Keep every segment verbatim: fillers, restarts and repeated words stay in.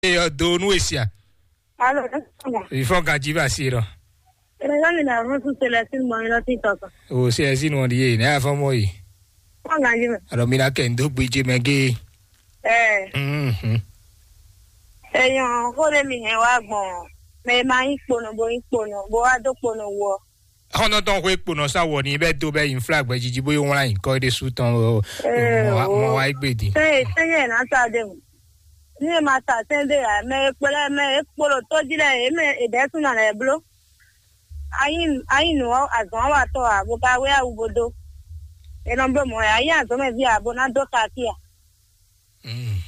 ɔ́ do nú e sia. Alo, ne sɔnna. Ìfɔ́n ganjí bá sí lɔ. Ene yɔ ni na ɔhɔn tún Célestine mɔ yín lɔ sí tɔtɔ. O Célestine wọn ɖi yé, ne afɔ mɔ yi. Fɔ́n ganjí mɛ. Alɔ mi na kɛ n dó gbéjé mɛ gé. Ɛɛ. Mhm. Èèyàn kó lè mi hɛn wá gbọ̀n. Mɛ ma yín kponɔ bó yín kponɔ bó wá dó kponɔ wú ɔ. Xɔ́ntɔn tɔn xwé kponɔ sá wɔ ní bɛ dó bɛ yin flag bɛ jiji bó yi wlán yin kɔ ɖésú tɔn o. Ee, Mɔ wa- o. Mɔ wa yi gbé din. Sɛn sɛn yɛ na sa de mu. Ní ẹ ma sa sɛn de ya mɛ e kplɛ mɛ e kpolo tó jí lɛ e mɛ e dɛ sún na lɛ bló. Ayi ayi nǔ ɔ́ azɔn wa tɔ a bó ka wé awu bó dó. E nɔ bló mɔ ya ayi azɔn mɛ ví a bó ná dó kaki a.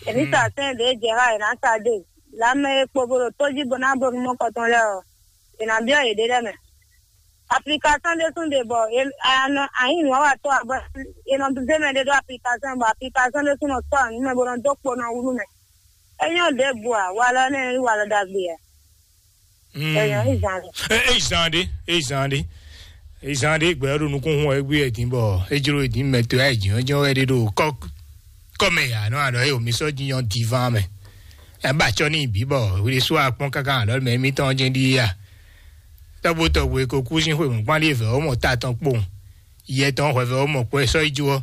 Èmi sa sɛn de jɛ ha e na sa de. Lamɛ e kpo bó ɖo tó jí bó ná bó nú mɔ kɔtɔn lɛ ɔ. E na byɔ yě ɖe lɛ mɛ. Application ɖé sún ɖe bɔ ayi nǔ wa tɔ abɔ e nɔ zé mɛ ɖé ɖó application bɔ application ɖé sún nɔ sɔ nǔ mɛ bó nɔ dó kpo nɔ wú nú mɛ. É nyɔ́ ɖěbǔ ǎ, walɔ nɛ́ nyí walɔ ɖagbe ǎ. É nyɔ́ é zan ɖe. Ezan ɖe, ezan ɖe, ezan ɖe gbɛ ɖo nukún hun ɛgbé ɛdín bɔ ejro ɛdín mɛ to ɛdín ɔjɔ wɛ ɖe ɖo kɔ kɔmɛ ya nɔ aɖɔ eye omi sɔ jinyɔ divan mɛ. Ɛba tsɔ ní bǐ bɔ wle sú akpɔn káká aɖɔ mɛ mi tɔn jɛ ɖi ya. Tɔgbo tɔgbo e ko kú sín xwe mɔ̌kpán ɖi evɛ ɔ́ mɔ ta tɔn kpowun. Yɛ tɔn hwɛvɛ ɔ́ mɔ kpɔ ɛ sɔ́ yi jó ɔ́,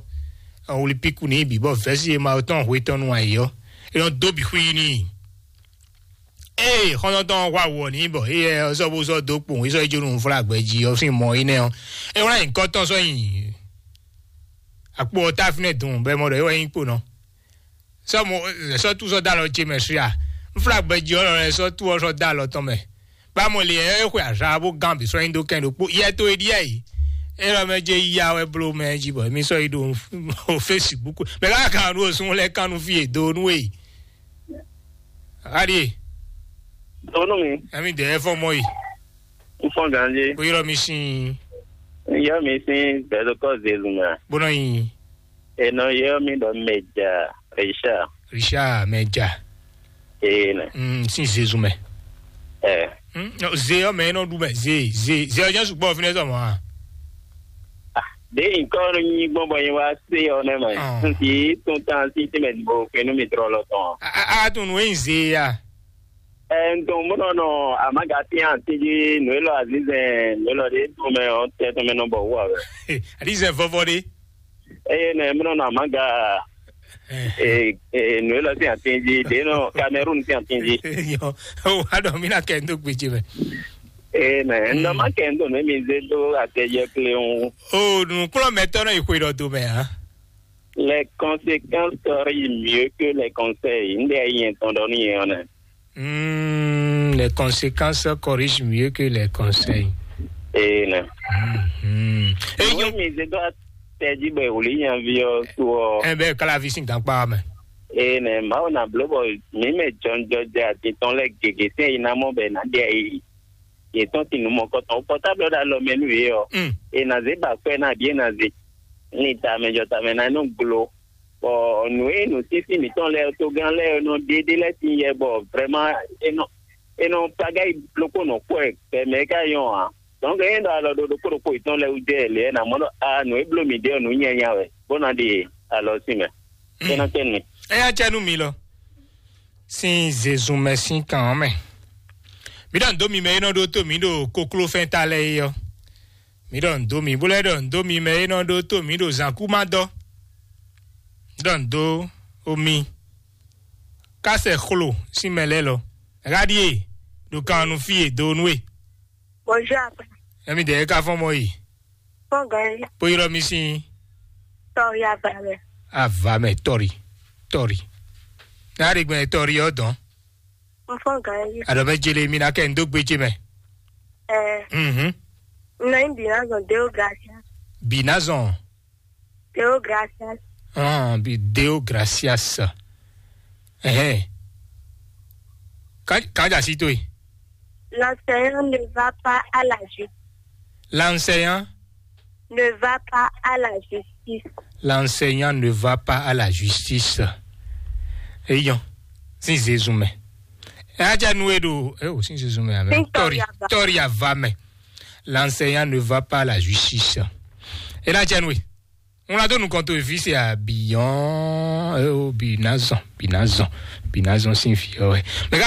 ɔn wlí píkú n'i bǐ bɔ vɛ̌si e ma ɔ́ tɔn hwe tɔn nú ayǐ ɔ́, é nɔ dó bǐ xwí n'i. Ée xɔ́ntɔn tɔn hwa wɔ n'i bɔ éyɛ ɔ́ sɔ́ bó sɔ́ dó kpowun é sɔ́ yi jó nú nǔflágbɛ jí ɔ́ sín mɔ énɛ́ ɔ́, é wlán nyǐkɔ tɔn sɔ́ nyi akpo ɔ́ ta fínɛ́ dun bɔ é mɔ ɖɔ é wɛ nyí kponɔ. Sɔ́ mo sɔ́ tú sɔ́ dó alɔ ce mɛ swi a? Nflágbɛjí ɔ́ lɔ lɛ́ɛ sɔ́ tú ɔ́ sɔ́ dó alɔ tɔn mɛ. Bá mo lě ɛ é xwe azǎ bó gán bǐ sɔ́ nyi dó kɛn ɖokpó yɛ tó e ɖíɛ yi. É lɔ mɛ jɛ ya wɛ bló mɛ jí bɔ émí sɔ́ yi ɖo Facebook. Mɛ ká kan ɖo sun lɛ́ɛ kan nú fí e do nú e. Aɖie. Donu mi. Ɛmi dɛ fɔ mɔ yi. N fɔ ganji. Bó yrɔ mi sin. N yɔ mi sin bɛlɛkɔ zezu mɛ. Bó nɔ yin. Enɔ yɔ mi ɖɔ mɛja Richard. Richard mɛja. Ee nɛ. Mm, sin zezu mɛ. Ɛ. Mm, no, ze yɔ mɛ nɔ ɖu mɛ ze ze ze ɔjɔ sugbɔ fi ne sɔ mɔ a. De nkɔ nyi gbɔn bɔ nyi wa se ɔ nɛ mɛ. Ɔn. N ti tun tan si ti mɛ bo kenu mi trɔ lɔ tɔn. A a a tun nu yin ze ya. Ɛ n tun munɔ nɔ amaga tian ti ji nu elɔ azizɛn nu elɔ de tun mɛ ɔ tɛ tun mɛ nɔ bɔ wu a wɛ. Alizɛ vɔvɔ de. Eye nɛ mlɔ nɔ amaga ee ee nu elɔ sin atin ji de nɔ Cameroun sin atin ji. Yɔ o wa dɔ mi na kɛ n do gbedze mɛ. Ee nɛ n dɔ ma kɛ n do nɛ mi ze do atɛjɛ kle ŋu. O nukplɔmɛtɔ nɔ yi xwe dɔ do mɛ a. Les conséquences seraient mieux que les conseils. N de yɛn tɔn dɔ ni yɛn ɔnɛ. Hmm, les conséquences corrigent mieux que les conseils. Ee nɛ. Hmm. Eyi mi ze do atɛji bɛ wuli yan vi ɔ to ɔ. Ɛ bɛ kala vi sin gankpa mɛ. Ee nɛ mawu na blo bɔ mi mɛ jɔnjɔjɛ ati tɔn lɛ gege tɛ yi na mɔ bɛ na de yi. Yetɔn ti nu mɔkɔtɔn pɔtablo da lɔ mɛ nu ye ɔ. Hmm. E na ze ba kwɛ na bi e na ze. Ni ta mɛ jɔ ta mɛ na nu glo. Bɔ nǔ e nǔsísí mǐtɔn lɛ́ɛ togán lɛ́ɛ nɔ ɖe ɖé lɛ́ɛ sin yɛ bɔ vrɛ́ma é nɔ é nɔ pagá yi ɖokpó nɔ kpɔ́ ɛ gbɛ mɛ é ka nyɔ́ ǎ. Donc é ɖɔ alɔ ɖo ɖokpó ɖokpó yětɔn lɛ́ɛ wú jɛ lě ɛ nǎ mɔ ɖɔ a nǔ e bló mǐ ɖe ɔ́ nǔ nyanya wɛ bó ná ɖe alɔ sín mɛ. É nɔ tɛ́ nú mi. Eya cɛ nú mi lɔ. Sín zezun mɛ sín kan ɔ́ mɛ. Mi ɖɔ ndo mi mɛ e nɔ ɖó tó mi ɖo koklófɛn ta lɛ́ɛ é ɔ́. Mi ɖɔ ndo mi bó lɛ́ ɖɔ ndo mi mɛ e nɔ ɖó tó mi ɖo zǎnkúmadɔ. Ɖɔ ndo omi kásɛ xlo sín mɛ lɛ́ɛ lɔ. Ɣá ɖíe ɖo kan nu fí e do nú e. Bonjour, apa. Ɛmi dɛ ka fɔn mɔ yi. Fɔn gɛ. Bó yrɔ mi sín. Tɔri ava mɛ. Ava mɛ tɔri tɔri. N'a ɖe gbɛn tɔri ɔ dɔn. N fɔn gɛ. Adɔ mɛ jele mi na kɛ n dó gbé jé mɛ. Ɛ. Mhm. N nɔ yin bi na zɔn Deo gracias. Bi na zɔn. Deo gracias. Ah, bi Deo gracias. Ɛhɛn. Kan kan ja si to yi. L'enseignant ne va pas à la justice. L'enseignant ne va pas à la justice. L'enseignant ne va pas à la justice. Eyɔn, sin zezun mɛ. Ɛ a jɛ nu e ɖo e o sin zezun mɛ amɛ. Tɔri tɔri ava mɛ. L'enseignant ne va pas à la justice. E na jɛ nu e. Ŋlɔ do nukɔn to evi se a biyɔn e o bi na zɔn bi na zɔn. Binazɔn sín vǐ ɔ́ wɛ. Mɛ ká